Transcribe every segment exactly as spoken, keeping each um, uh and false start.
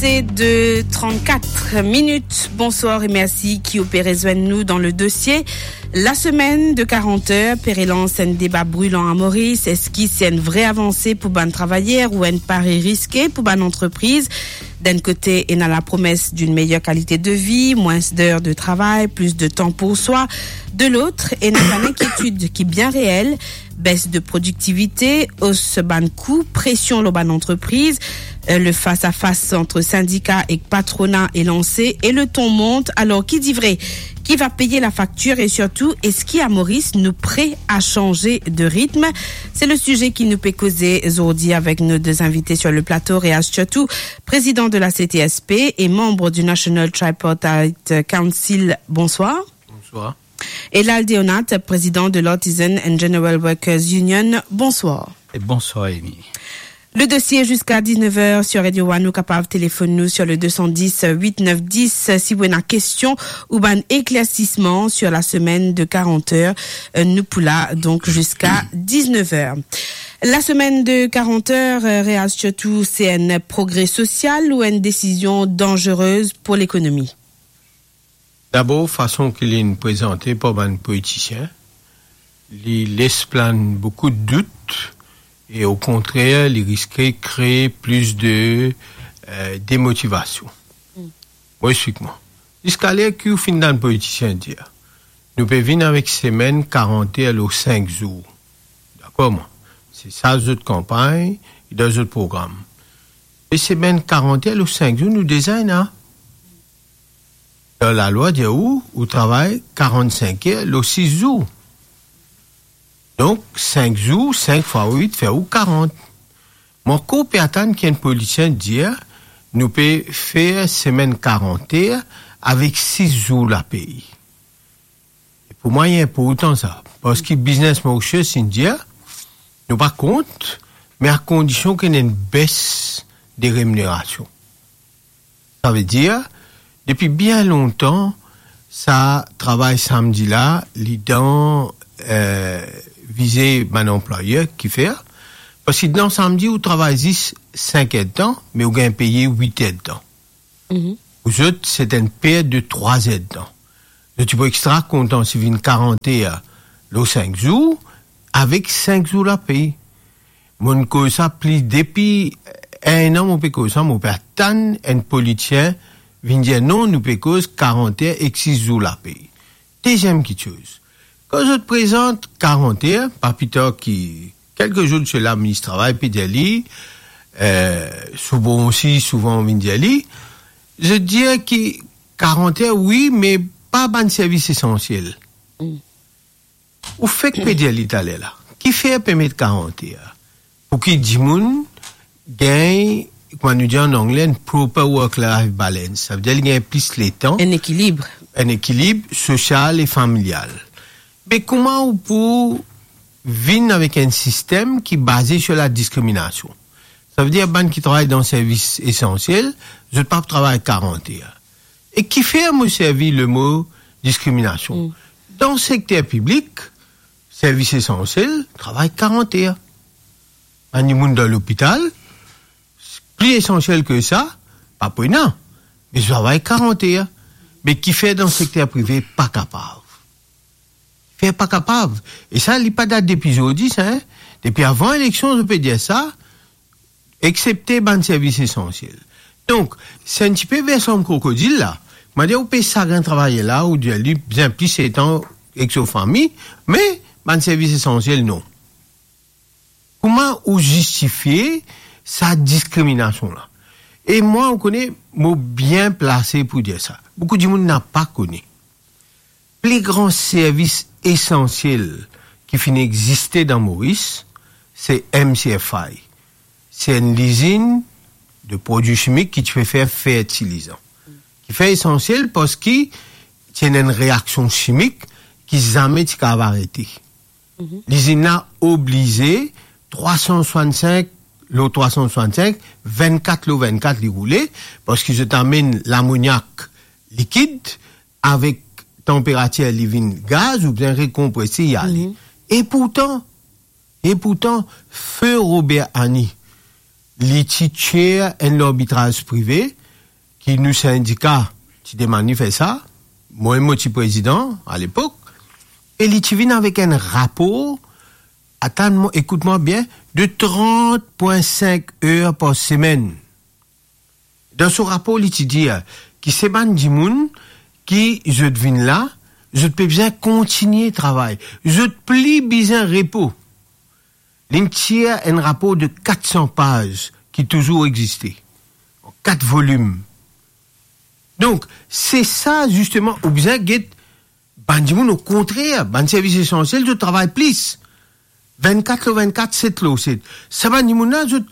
C'est de trente-quatre minutes. Bonsoir et merci ki ou pe rezwenn nou dan le dossier. La semaine de quarante heures pe relans enn deba brilan a Moris. Eski se enn vre avanse pou bann travayer ou enn pari riske pou bann antrepriz? D'un côté, ena la promes d'une meilleure qualité de vie, moins d'heures de travail, plus de temps pour soi. De l'autre, ena bann inkietid ki bien reel, bes de prodiktivite, os bann kou, presion lor bann antrepriz, euh, le fas-a-fas ant sindika ek patrona e lanse e le ton mont. Alor, ki di vre? Qui va payer la facture et surtout, eski a Moris nou pare a sanz de ritm? C'est le sujet ki nou pe koze zordi avek nou de invite sur le plateau. Reaz Tchotou, président de la C T S P et membre du National Tripartite Council. Bonsoir. Bonsoir. E Lal Deonat, président de l'Artisan and General Workers Union. Bonsoir. E bonsoir, Amy. Le dossier jusqu'à dix-neuf heures sur Radio One, ou kapav telefonn nou sur le deux cent dix, huit neuf dix, si ou ena kestion ou bann éclaircissement sur la semaine de quarante heures, euh, nou pou la, donc, jusqu'à dix-neuf heures. La semaine de quarante heures, euh, Reaz Tchotou, se enn progre sosial ou enn desizion danzerez pou lekonomi? Dabor, fason ki linn prezante par bann politisien, li les plann boukou dout e, okontrer, li riske kree plis de, euh, demotivasion. Mm. Mo explik mwa. Ziska ler ki ou finn tann politisien dir, nou pe vinn avek semenn karant er lor sink zour. Dakor, mwa? Se sa zot kanpagn, dan zot program. E semenn karant er lor sink zour, nou deza ena. Dan lalwa dir ou, ou travay karant-sink er lor sis zour. Donk, sink zour, sink fwa wit fer ou karant. Mo ankor pe atann ki enn politisien dir, nou pe fer semenn karant er avek sis zour lapey. E pou mwa, li inportan sa, parski Business Mauritius inn dir, nou pa kont, me a kondision ki ena enn bes de reminerasion. Savedir, depi bien lontan, sa travay samdi la, li dan, eh, vize bann anplwayer ki fer, parski dan samdi, ou travay zis sink erdtan, me ou gagn peye wit erdtan. Mhm. Pou zot, se enn pert de trwa erdtan. Zot ti pou extra kontan si vinn karant er lor sink zour, avek sink zour lapey. Mo'nn koz sa pli depi enn an, mo pe koz sa, mo pe atann enn politisien vinn dir non, nou pe koz karant er ek sis zour lapey. Deziem kitsoz, kan zot prezant karant er, pa pli tar ki kelke zour de sela, minis travay pe dir li, eh, Souban osi souvan vinn dir li, zot dir ki karant er, wi, me pa bann servis esansiel. Mm. Ou fek pe dir li taler la. Kifer pe met karant er? Pou ki dimoun gagn, kouma nou dir an angle, enn proper work-life balance. Savedir li gagn plis letan. Enn ekilib. Enn ekilib sosial e familial. Me kouma ou pou vinn avek enn sistem ki baze sur la diskriminasion? Savedir bann ki travay dan servis esansiel, zot pa pou travay karant er. E kifer mo servi lemo diskriminasion? Mm. Dan sekter piblik, servis esansiel, travay karant er. Bann dimoun dan lopital, pli esansiel ki sa, pa pou ena, me zot travay karant er. Me kifer dan sekter prive pa kapav? Fer pa kapav. E sa, li pa dat depi zordi, sa, en. Depi avan eleksion, zot pe dir sa, eksepte bann servis esansiel. Donk, se enn tipe version krokodil la. Mo dir ou pe sagrin travayer la, ou dir li bizin plis letan ek so fami, me bann servis esansiel, non. Kouma ou zistifie sa diskriminasion la? E mwa, ou kone, mo bien plase pou dir sa. Boukou dimoun napa kone. Pli gran servis esansiel ki finn existe dan Moris, se M C F I. Se enn lizinn de prodwi simik ki ti pe fer fertilizan. Ki fer esansiel parski ti ena enn reaksion simik ki zame ti kapav arete. Mhm. Lizinn la oblize trwa san swasannsink lor trwa san swasannsink, vennkat lor vennkat li roule, parski zot amenn lamoniak likid, avek tanperatir li vinn gaz, ou bizin rekonprese, li ale. Mhm. E pourtan, e pourtan, Feu Robert Annie, li ti chair enn larbitraz prive, ki nou sindika ti demann li fer sa, mwa mo ti prezidan alepok, e li ti vinn avek enn rapor, atann mwa, ekout mwa bien, de trant pwin sink er par semenn. Dan so rapor, li ti dir ki se bann dimoun ki zot vinn la, zot pe bizin kontigne travay, zot pli bizin repo. Linn tir enn rapor de kat san paz ki touzour existe, an kat volim. Donk, se sa, zisteman, ou bizin get bann dimoun, okontrer, bann servis esansiel, zot travay plis. Vennkat lor vennkat, set lor set. Sa bann dimoun la, zot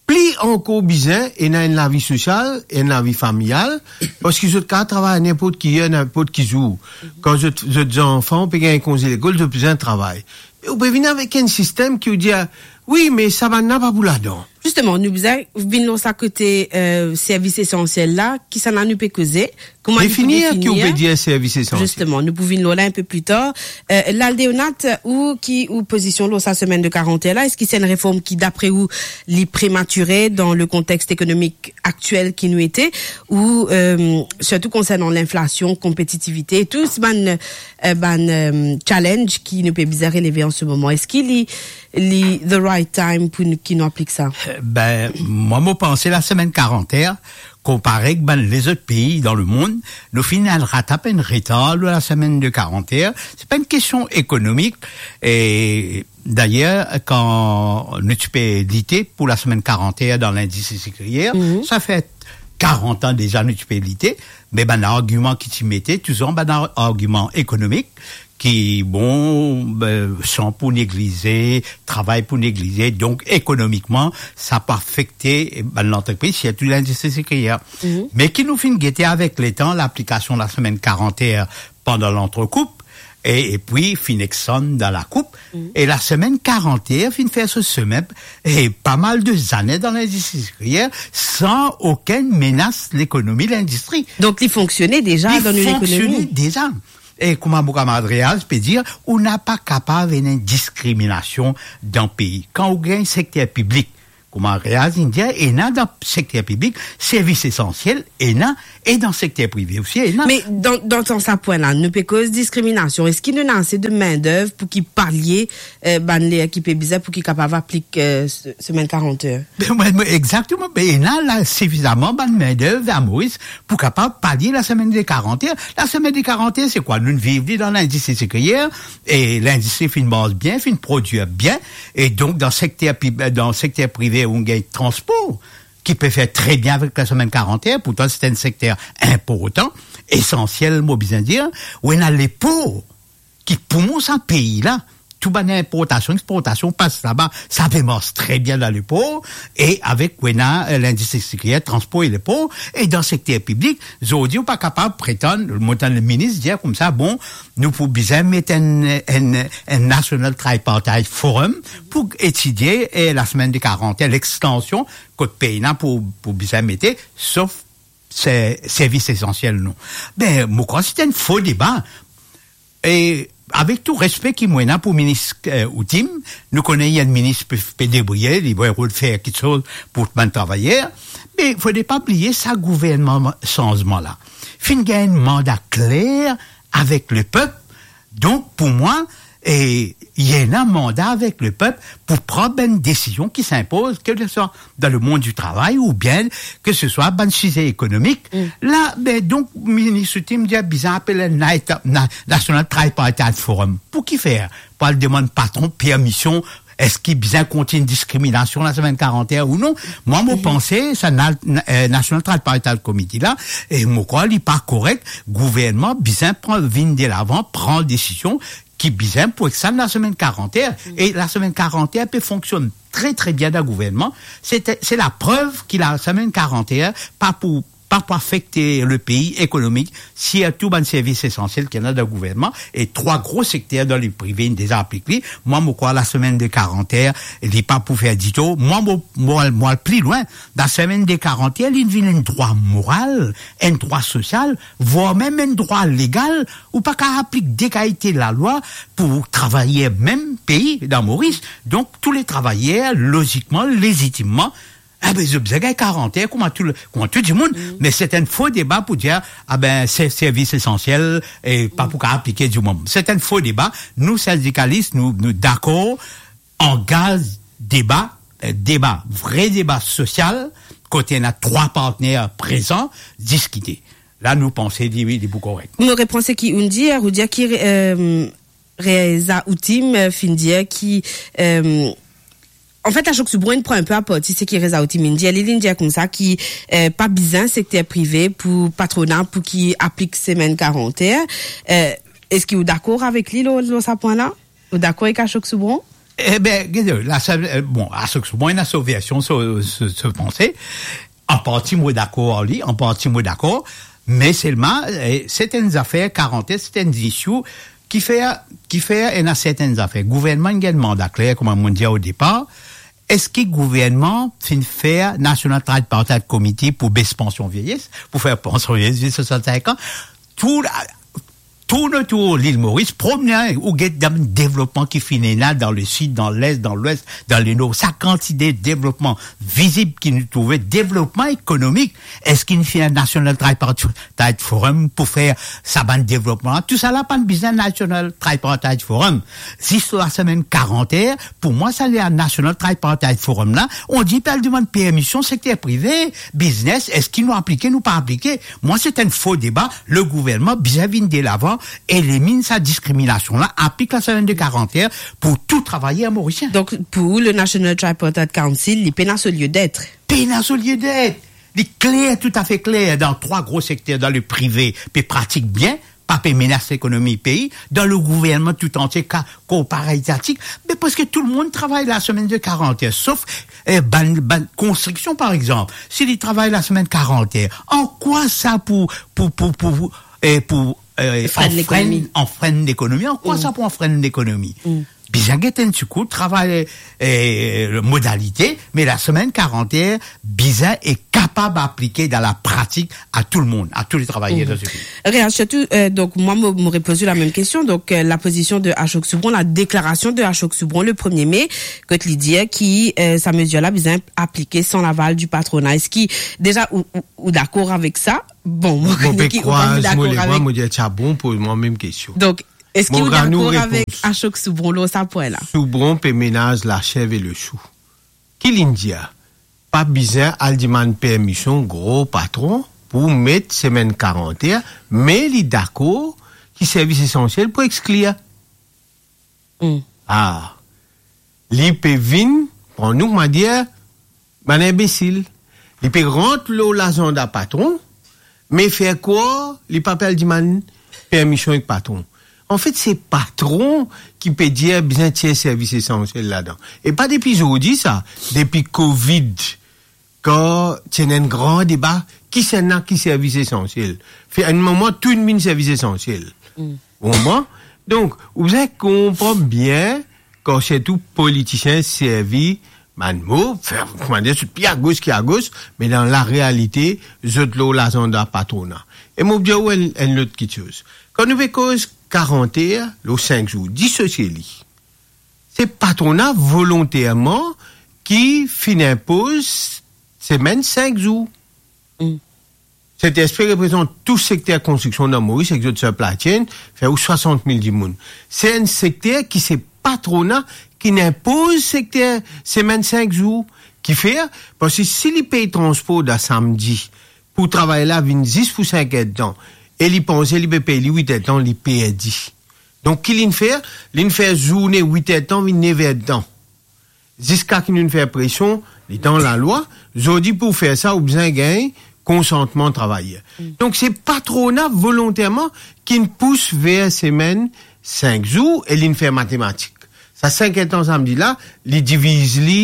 pli ankor bizin ena enn lavi sosial, enn lavi familial, parski zot kapav travay ninport ki er, ninport ki zour. Kan zot, zot zanfan pe gagn konze lekol, zot bizin travay. Me ou pe vinn avek enn sistem ki ou dir, "Wi, me sa bann la pa pou ladan." Zisteman, nou bizin vinn lor sa kote, eh, servis esansiel la, kisannla nou pe koze, kouma nou pou definir ki ou pe dir servis esansiel. Zisteman, nou pou vinn lor la enn pe pli tar. Eh, Lal Deonat, ou ki, ou pozision lor sa semenn de karant er la, eski se enn reform ki, dapre ou, li prematire dan le kontex ekonomik aktiel ki nou ete, ou, eh, sirtou konsernan linflasion, konpetitivite, tou bann, eh, bann, eh, challenge ki nou pe bizin releve an se moman? Eski li, li the right time pou nou, ki nou aplik sa? Ben, mwa, mo panse lasemenn karant er, konpare ek bann lezot pei dan lemond, nou finn al ratap enn retar lor lasemenn de karant er. Se pa enn kestion ekonomik. E dayer, kan nou ti pe lite pou lasemenn karant er dan lindistri sikriyer, sa fer karant an deza nou ti pe lite, me bann argiman ki ti mete, touzour bann ar-, argiman ekonomik, ki, bon, be, san pou neglize, travay pou neglize, donk ekonomikman, sa pou afekte bann lantrepriz, sirtou lindistri sikriyer. Me ki nou finn gete avek letan, laplikasion lasemenn karant er pandan lantrekoup, e, epi finn extann dan lakoup, e lasemenn karant er finn fer so semin, e pa mal de zane dan lindistri sikriyer, san okenn menas lekonomi, lindistri. Donk, li fonksione deza dan nou lekonomi? Li fonksione deza. E kouma mo kamarad Reaz pe dir, ou napa kapav ena enn diskriminasion dan pei. Kan ou gagn sekter piblik, kouma Reaz inn dir, ena dan sekter piblik, servis esansiel, ena, e dan sekter prive osi, ena. Me dan, dan, dan sa pwin la, nou pe koz diskriminasion. Eski nou ena ase de mendev pou ki palie, eh, bann ler ki pe bizin, pou ki kapav aplik, eh, se-, semenn karant er? Ben, mwa, mwa, exakteman. Ben, ena la sifizaman bann mendev a Moris pou kapav palie lasemenn de karant er. Lasemenn de karant er, se kwa? Nou'nn viv li dan lindistri sikriyer, e lindistri finn mars bien, finn prodwir bien, e donk dan sekter pib-, dan sekter prive, ou gagn transpor, ki pe fer tre bien avek lasemenn karant er, pourtan se enn sekter inportan, esansiel, mo bizin dir, ou ena lepor, ki poumon sa pei la, tou bann inportasion, exportasion pas laba, sa pe mars tre bien dan lepor, e avek ou ena, eh, lindistri sikriyer, transpor e lepor, e dan sekter piblik, zordi ou pa kapav pretann, mo tann leminis dir koumsa, bon, nou pou bizin met enn, enn, enn National Tripartite Forum pou etidie, eh, lasemenn de karant er, lextansion kot pena pou, pou bizin mete, sof se, servis esansiel, non. Ben, mo krwar se enn fo deba. E avek tou respe ki mo ena pou minis, eh, Otim, nou kone li enn minis pe, pe debriye, li pou fer kiksoz pou bann travayer, me fode pa bliye sa gouvernman sanzman la finn gagn enn manda kler avek lepep. Donk, pou mwa, e, li ena manda avek lepep pou pran bann desizion ki sinpoz, ke se swa dan lemond di travay oubien ke se swa bann size ekonomik. La, ben, donk, minis Otim dir bizin apel enn na-, na-, National Tripartite Forum. Pou ki fer? Pou al demann patron permision, eski bizin kontign diskriminasion lasemenn karant er ou non? Mwa, mo panse, sa na-, na-, eh, National Tripartite Committee la, e mo krwar li pa korek, gouvernman bizin pran, vinn delavan, pran desizion ki bizin pou extann lasemenn karant er. E lasemenn karant er pe fonksionn tre, tre bien dan gouvernman. Se, se laprev ki lasemenn karant er pa pou, pa pou afekte lepei ekonomik, sirtou bann servis esansiel ki ena dan gouvernman, e trwa gro sekter dan leprive inn deza aplik li. Mwa, mo krwar lasemenn de karant er, li pa pou fer ditou. Mwa, mo, mo al, mo al pli lwin. Lasemenn de karant er, li vinn enn drwa moral, enn drwa sosial, vwar mem enn drwa legal. Ou pa kapav aplik de kalite lalwa pou travayer mem pei dan Moris. Donk, tou le travayer, lozikman, lezitimman, Ah ben, zot bizin gagn karant er kouma tou, kouma tou dimoun. Mm. Me se enn fo deba pou dir, ah ben, se servis esansiel e pa pou kapav aplike dimoun. Se enn fo deba. Nou, sindikalis, nou, nou dakor, angaz deba, eh, deba, vre deba sosial, kot ena trwa partner prezan, diskite. La, nou panse li, wi, li pou korek. Nou repran seki ou'nn dir, ou dir ki, eh, Reza Outim, eh, finn dir ki, eh, anfet, Ashok Soubron pran enpe aparti seki Reza Outim inn dir. Li, li'nn dir koumsa ki, eh, pa bizin sekter prive pou patrona pou ki aplik semenn karant er. Eh, eski ou dakor avek li lor, lor sa pwin la? Ou dakor avek Ashok Soubron? Eh ben, gete, la, sa, eh, bon, Ashok Soubron ena so version, so, so, so panse. An parti, mo dakor ar li, an parti, mo dakor, me selman, eh, sertenn zafer, karant er, sertenn issue, ki fer, ki fer ena sertenn zafer. Gouvernman inn gagn manda kler, kouma mo dir o depar, eski gouvernman finn fer National Tripartite Committee pou bes pansion vieyes, pou fer pansion vieyes, swasannsink an? Tou, tourn otour Lil Moris, promenn, ou get dan devlopman ki finn ena dan lesid, dan les, dan lwes, dan lenor, sa kantite devlopman vizib ki nou trouve, devlopman ekonomik. Eski inn fer National Tripartite Forum pou fer sa bann devlopman la? Tousala pa'nn bizin National Tripartite Forum. Zis lasemenn karant er, pou mwa, sa National Tripartite Forum la, on dir pe al demann permision sekter prive, biznes, eski nou aplike, nou pa aplike? Mwa, se enn fo deba. Le gouvernman bizin vinn delavan, elimin sa diskriminasion la, aplik lasemenn de karant er pou tou travayer morisien. Donk, pou ou, le National Tripartite Council, li pena so lieu d'être? Pena so lieu d'être. Li kler, toutafe kler, dan trwa gro sekter, dan le prive, pe pratik bien, pa pe menas lekonomi pei, dan le gouvernman toutantie, ka, korporatizatik, me preske tou lemonn travay lasemenn de karant er, sof, eh, bann, bann konstriksion, par exanp. Si li travay lasemenn karant er, an kwa sa pou, pou, pou, pou, eh, pou, eh, Frenn anfrenn, lekonomi. Anfrenn lekonomi? An kwa sa pou anfrenn lekonomi? Bizin get enn ti kou, travay, eh, modalite, me lasemenn karant er bizin e kapab aplike dan lapratik a tou lemonn, a tou le travayer dan se pei. Real, sirtou, eh, donk, mwa, mo, mo repoz ou lamem kestion. Donk, eh, lapozision de Ashok Soubron, la deklarasion de Ashok Soubron le premie me, kot li dir ki, eh, sa mezir la bizin aplike san laval di patrona. Eski, deza, ou, ou, ou dakor avek sa? Bon, mo pe krwaz mo lebra, mo dir, ti a bon, poz mwa mem kestion. Donk, eski ou dakor avek Ashok Soubron lor sa pwin la? Soubron pe menaz lasev e lesou. Ki li'nn dir? Pa bizin al demann permision gro patron pou met semenn karant er, me li dakor ki servis esansiel pou exklir. Hmm. Ah. Li pe vinn pran nou, kouma dir, bann inbesil. Li pe rant lor lazanda patron, me fer krwar li pa pe al demann permision ek patron. Anfet, se patron ki pe dir bizin tir servis esansiel ladan. E pa depi zordi sa, depi Covid, kan ti ena enn gran deba, kisannla ki servis esansiel. Fer enn moman, tou dimoun servis esansiel. Mm. Ou konpran? Donk, ou bizin konpran bien, kan sirtou politisien servi bann mo, fer, kouma dir, zot pli agos ki agos, me dan larealite, zot lor lazanda patrona. E mo pou dir ou enn, enn lot kitsoz. Kan nou pe koz karant er lor sink zour, disosie li. Se patrona volonterman ki finn inpoz semenn sink zour. Mm. Sentexprès reprezant tou sekter konstriksion dan Moris ek zot supply chain, fer ou swasant mil dimoun. Se enn sekter ki se patrona ki inpoz sekter semenn sink zour. Kifer? Parski si li pey transpor dan samdi, pou travayer la vinn zis pou sink er-d-tan, e li panse li pe pey li wit er-d-tan, li perdi. Donk, ki li'nn fer? Li'nn fer zourne wit er-d-tan vinn nef er-d-tan. Ziska ki nou'nn fer presion, letan lalwa, zordi pou fer sa, ou bizin gagn konsantman travayer. Mm. Donk, se patrona volonterman ki'nn pous ver semenn sink zour e li'nn fer matematik. Sa sink er-d-tan samdi la, li diviz li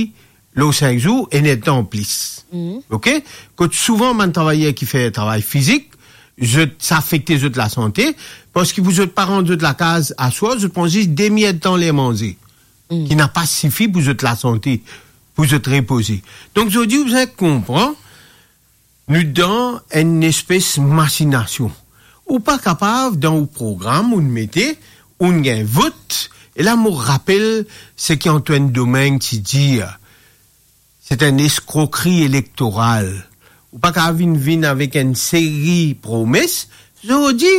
lor sink zour, enn er-d-tan anplis. Mm. Oke? Kot souvan bann travayer ki fer travay fizik, zot, sa afekte zot lasante, parski pou zot pa rant zot lakaz aswar, zot pran zis demi er-d-tan ler manze, mm, ki napa sifi pou zot lasante, pou zot repoze. Donk, zordi, ou bizin konpran, nou dan enn espes masinasion. Ou pa kapav, dan ou program, ou'nn mete, ou'nn gagn vot, e la, mo rapel seki Antoine Domingue ti dir, Se enn eskrokri elektoral. Ou pa kapav vinn, vinn avek enn seri promes, zordi,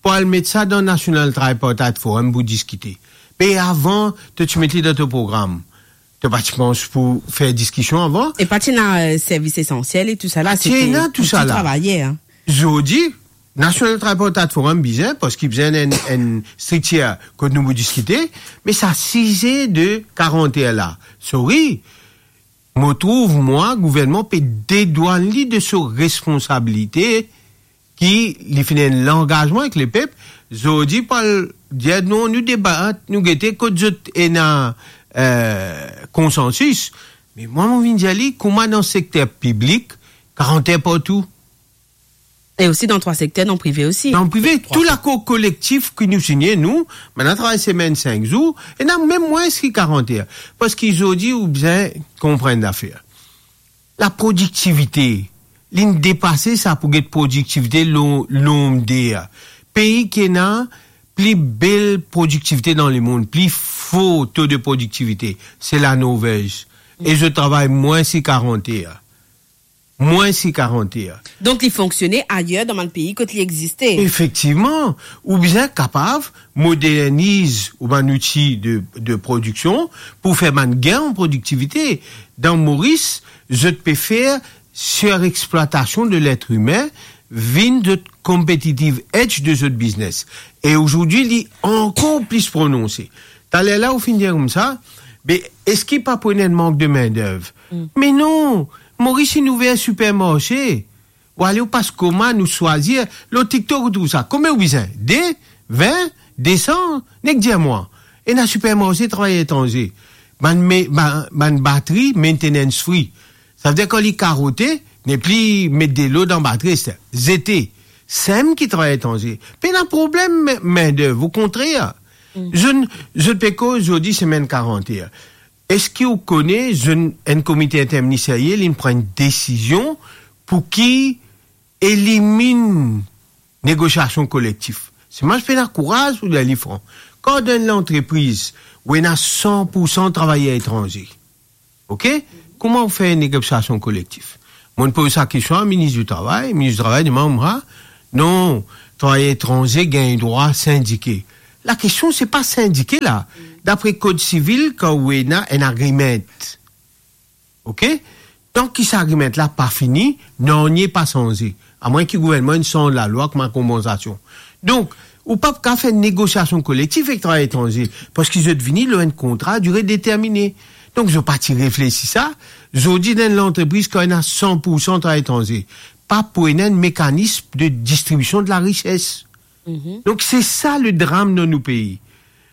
pou al met sa dan National Tripartite Forum pou diskite. Me avan, to ti met li dan to program. To pa ti pans pou fer diskision avan? E pa ti ena, euh, servis esansiel e tou sa la, ti ena tou sa la. Travayer, hein. Zordi, National Tripartite Forum bizin, parski bizin enn, enn striktir kot nou pou diskite, me sa size de karant er la. Sorry, mo trouv, mwa, gouvernman pe dedwann li de so responsabilite ki li finn enn langazman ek lepep, zordi pou al dir, "Non, nou debat, nou gete kot zot ena, euh, konsansis." Me mwa, mo vinn dir li, kouma dan sekter piblik, karant er partou? E osi dan trwa sekter, dan prive osi. Dan prive, tou lakor kolektif ki nou signe, nou, bann la travay semenn sink zour, ena mem mwins ki karant er. Parski zordi, ou bizin konpran enn zafer. Laprodiktivite, linn depase sa pou get prodiktivite lon-, lonb der. Pei ki ena pli bel prodiktivite dan lemond, pli for to de prodiktivite, se Lanorvez. E zot travay mwins ki karant er. Mwins ki karant er. Donk, li fonksione ayer dan bann pei kot li existe. Efektivman, ou bizin kapav moderniz ou bann outi de, de prodiksion pou fer bann gin an prodiktivite. Dan Moris, zot pe fer sirexplwatasion de letr imin vinn zot competitive edge de zot biznes. E azordi, li ankor plis prononse. Taler la, ou finn dir koumsa, be, eski pa pou ena enn mank de mindev? Mm. Me non, Moris inn ouver sipermarse. Ou ale, ou pas komann, ou swazir, lor TikTok ou trouv sa. Konbien ou bizin? De, vin, de san, nek dir mwa. Ena sipermarse travay etranze. Bann me-, ba-, bann batri, maintenance free. Savedir kan li karote, nepli met delo dan batri, se zete. Sem ki travay etranze. Pena problem mi-, mindev, okontrer. Mm. Zot, zot pe koz zordi semenn karant er. Eski ou kone, zot enn komite interministeriel, linn pran enn desizion pou ki eliminn negosiasion kolektif? Se mwa, mo pena kouraz pou dir li fran. Kan dan enn lantrepriz ou ena san pou san travayer etranze, ok? Kouma ou fer negosiasion kolektif? Mo poz sa kestion a minis di travay, minis di travay dimann mwa, non, travayer etranze gagn drwa sindike. Lakestion, se pa sindike la. Dapre kod sivil, kan ou ena enn agreement, ok? Tanki sa agreement la pa fini, nanye pa sanze. Amwin ki gouvernman inn sanz lalwa kouma konpansasion. Donk, ou pa kapav fer negosiasion kolektif ek travayer etranze, parski zot vini lor enn kontra dire determine. Donk, zot pa ti reflesi sa, zordi dan enn lantrepriz kan ena san pou san travayer etranze, pa pou ena enn mekanism de distribision de larises. Mhm. Donk, se sa le dram dan nou pei.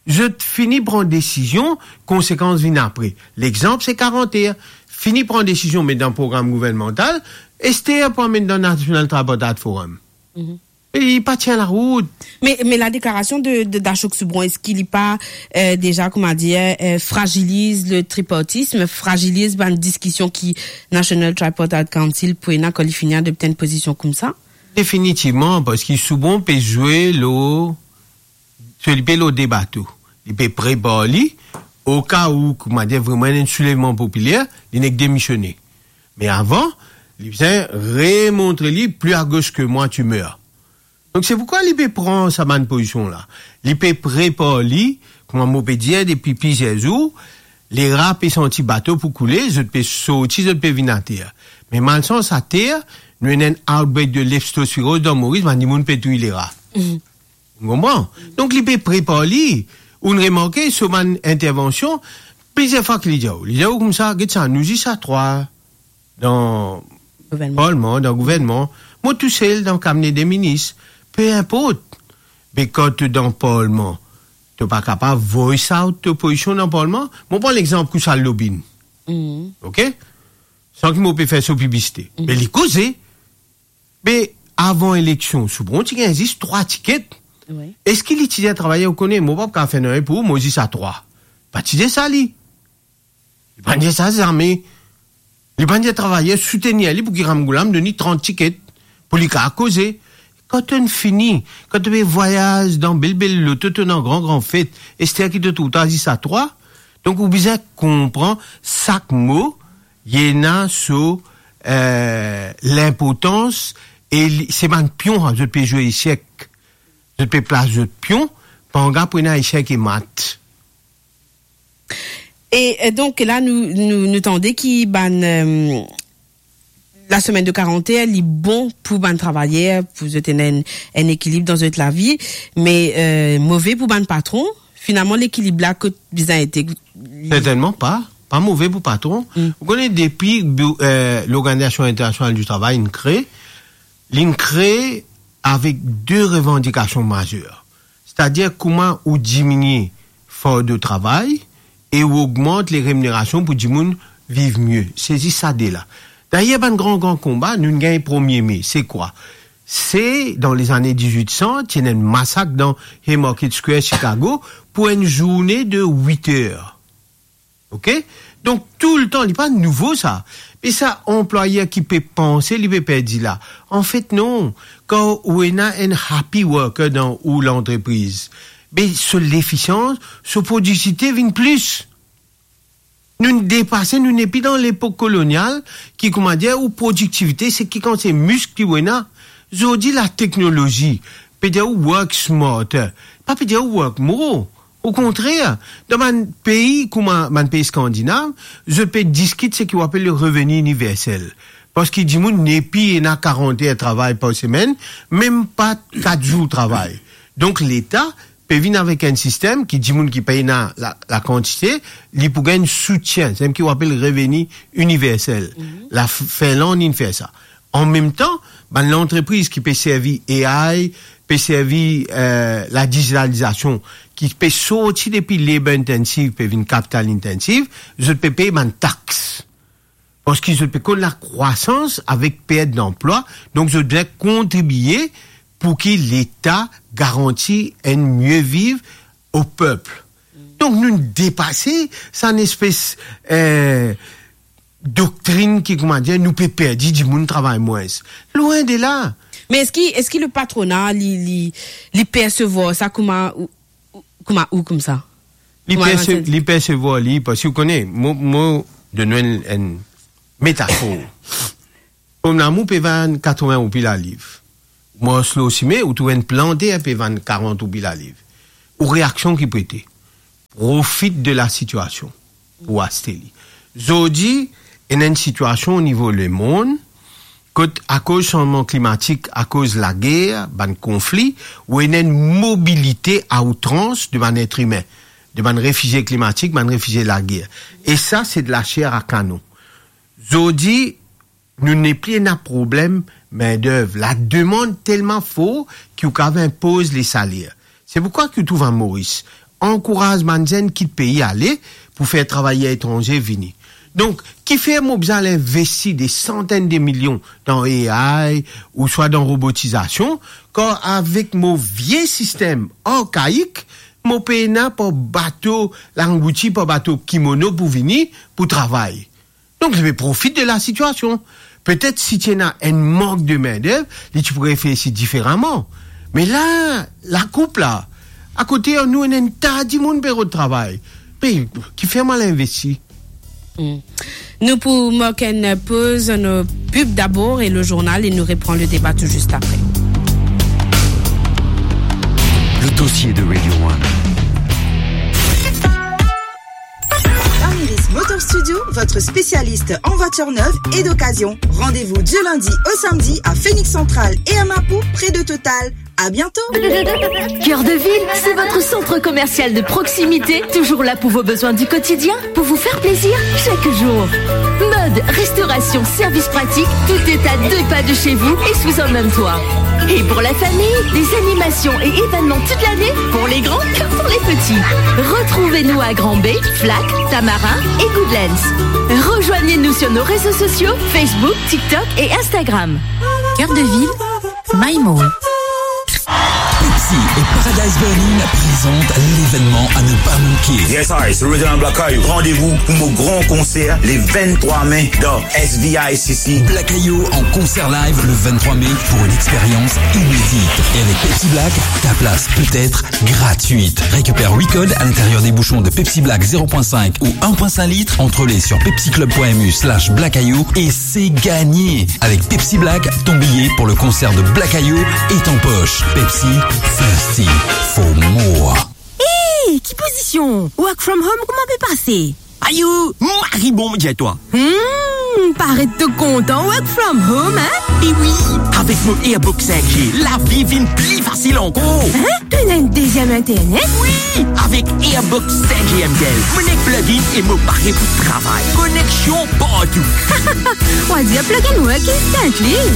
Zot fini pran desizion, konsekans vinn apre. Lexanp, se karant er. Fini pran desizion, met dan program gouvernmantal, ester pou amenn dan National Tripartite Forum. Mhm. E li pa tien larout. Me, me ladeklarasion de, de, d'Ashok Soubron, eski li pa, euh, deza, kouma dir, euh, fragiliz le tripartisme, fragiliz bann diskision ki National Tripartite Council pou ena kan li fini adopte enn pozision koumsa? Definitivman, parski Soubron pe zwe lor, so li pe lor de bato. Li pe prepar li, oka ou, kouma dir, vreman enn soulevman popiler, li nek demisione. Me avan, li bizin remontre li, plus à gauche que moi, tu meurs. Donk, se poukwa li pe pran sa bann pozision la. Li pe prepar li, kouma mo pe dir depi plizier zour, lera pe santi bato pou koule, zot pe sorti, zot pe vinn ater. Me malsans ater, nou ena enn outbreak de leptospiroz dan Moris, bann dimoun pe touy lera. Mhm. Ou konpran? Donk, li pe prepar li. Ou'nn remarke, so bann intervansion, plizier fwa ki li dir ou, li dir ou koumsa, get sa, nou zis a trwa dan Gouvernman. Parlman, dan gouvernman. Mo tousel dan kabine de minis. Pe inport. Me kan to dan parlman, to pa kapav voice out to pozision dan parlman? Mo pran lexanp koumsa lobin. Mhm. Ok? San ki mo pe fer so piblisite. Mhm. Me li koze. Me avan eleksion, Soubron ti gagn zis trwa tiket. Wi. Eski li ti dir travayer, ou kone, mo pa kapav fer nanye pou ou, mo zis a trwa? Pa ti dir sa li. Li pa dir sa zame. Li pa dir travayer soutenir li pou ki Ramgoolam donn li trant tiket pou li kapav koze. Kan to'nn fini, kan to pe vwayaz dan bel bel loto, to dan gran gran fet, ester ki to trouv twa zis a trwa. Donk ou bizin konpran sak mo Li ena so, eh, linportans, e li, se bann pion, zot pe zwe esek. Zot pe plas zot pion, panga pou ena esek e mat. E, eh, donk, la, nou, nou, nou tande ki bann, eh, lasemenn de karant er, li bon pou bann travayer, pou zot ena enn, enn ekilib dan zot lavi, me, eh, move pou bann patron. Finalman, lekilib la, kot bizin ete? Sertennman pa. Pa move pou patron. Mm. Ou kone, depi, eh, Lorganizasion Internasional di Travay inn kre, linn kre avek de revandikasion mazer. Setadir, kouma ou diminie fardo travay e ou ogmant le reminerasion pou dimoun viv mie. Se zis sa de la. Dayer, bann gran, gran konba, nou gagn premie me. Se kwa? Se dan lezane diz-wit san, ti ena enn masak dan Haymarket Square, Chicago, pou enn zourne de wit er. Ok? Donk, toultan, li pa nouvo sa. Me sa, anplwayer ki pe panse, li pe perdi la. Anfet, non. Kan ou ena enn happy worker dan ou lantrepriz, be so lefisians, so prodiktivite vinn plis. Nou depase, nou nepli dan lepok kolonial, ki, kouma dir, ou prodiktivite, se ki kan se misk ki ou ena. Zordi, lateknolozi pe dir ou work smarter, pa pe dir ou work more. Okontrer, dan bann pei kouma bann pei skandinav, zot pe diskit seki ou apel le reveni iniversel. Parski dimoun nepli ena karant er travay par semenn, mem pa kat zour travay. Donk, Leta pe vinn avek enn sistem ki dimoun ki pa ena la, lakantite, li pou gagn soutien, seki ou apel reveni iniversel. Mhm. Lafinlann inn fer sa. Anmemtan, bann lantrepriz ki pe servi A I, pe servi, eh, ladizitalizasion, ki pe sorti depi labor intensive, pe vinn capital intensive, zot pe pey bann tax. Parski zot pe konn lakrwasans avek pert danplwa, donk zot bizin kontribie pou ki Leta garanti enn mie viv o pep. Donk, nou depase sa enn espes, eh, doktrin ki, kouma dir, nou pe perdi dimoun travay mwins. Lwin de la. Me eski, eski le patrona, li, li, li persevwar sa kouma ou, ou, kouma ou, koumsa? Li Kouma perse-, li persevwar li, parski ou kone, mo, mo donn enn, enn metafor. Pom lamour pe vann katrevin roupi laliv. Mars lor sime, ou trouv enn planter pe vann karant roupi laliv. Ou reaksion ki pou ete? Profit de lasitiasion pou aste li. Zordi, ena enn sitiasion o nivo lemond, kot akoz sanzman klimatik, akoz lager, bann konfli, ou ena enn mobilite a outrans de bann et imin, de bann refizie klimatik, bann refizie lager. E sa, se de laser a kanon. Zordi, nou nepli ena problem mindev. Lademann telman for ki ou kav inpoz lesaler. Se poukwa ki ou trouv a Moris, ankouraz bann zenn kit pei ale pou fer travayer etranze vini. Donk, kifer mo bizin al investi de santenn de milion dan A I ouswa dan robotizasion, kan avek mo vie sistem arkaik, mo pena par bato langouti, par bato kimono pou vini, pou travay? Donk, li pe profit de lasitiasion. Petet si ti ena enn mank de mindev, li ti pou reflesi diferaman. Me la, lakoup la, akote nou ena enn ta dimoun pe rod travay. Pe, kifer mo al investi? Hmm. Nou pou mark enn poz, nou pib dabor e le journal, e nou repran le deba tou zis apre. Le dossier de Radio One. Ramirez Motor Studio, votre spécialiste en voiture neuve et d'occasion. Rendez-vous du lundi au samedi à Phoenix Central et à Mapou, près de Total. À bientôt. Cœur de Ville, c'est votre centre commercial de proximité, toujours là pour vos besoins du quotidien, pour vous faire plaisir chaque jour. Mode, restauration, service pratique, tout est à deux pas de chez vous et sous un même toit. Et pour la famille, des animations et événements toute l'année, pour les grands comme pour les petits. Retrouvez-nous à Grand Bay, Flac, Tamarin et Goodlands. Rejoignez-nous sur nos réseaux sociaux, Facebook, TikTok et Instagram. Cœur de Ville, My Mall. Et Paradise Berlin présente l'événement à ne pas manquer. Yes, I, c'est Original Black Eyed. Rendez-vous pour mon grand concert le vingt-trois mai dans S V I C C. Black Eyed en concert live le vingt-trois mai pour une expérience inédite. Et avec Pepsi Black, ta place peut être gratuite. Récupère huit codes à l'intérieur des bouchons de Pepsi Black zéro point cinq ou un point cinq litres, entrée libre sur pepsiclub point M U slash Black Eyed et c'est gagné. Avec Pepsi Black, ton billet pour le concert de Black Eyed est en poche. Pepsi, thirsty for more. Hey, ki pozision? Work from home, kouma pe pase? Ayo, mari bon, mo dir twa. Hmm, paret to kontan work from home, hein? E wi, avek mo Airbox cinq G, lavi vinn pli fasil ankor. Hein? To ena enn deziem internet? Wi, avek Airbox cinq G M T L, mo nek plug in e mo pare pou travay. Koneksion partou. Wadir plug and work instantly.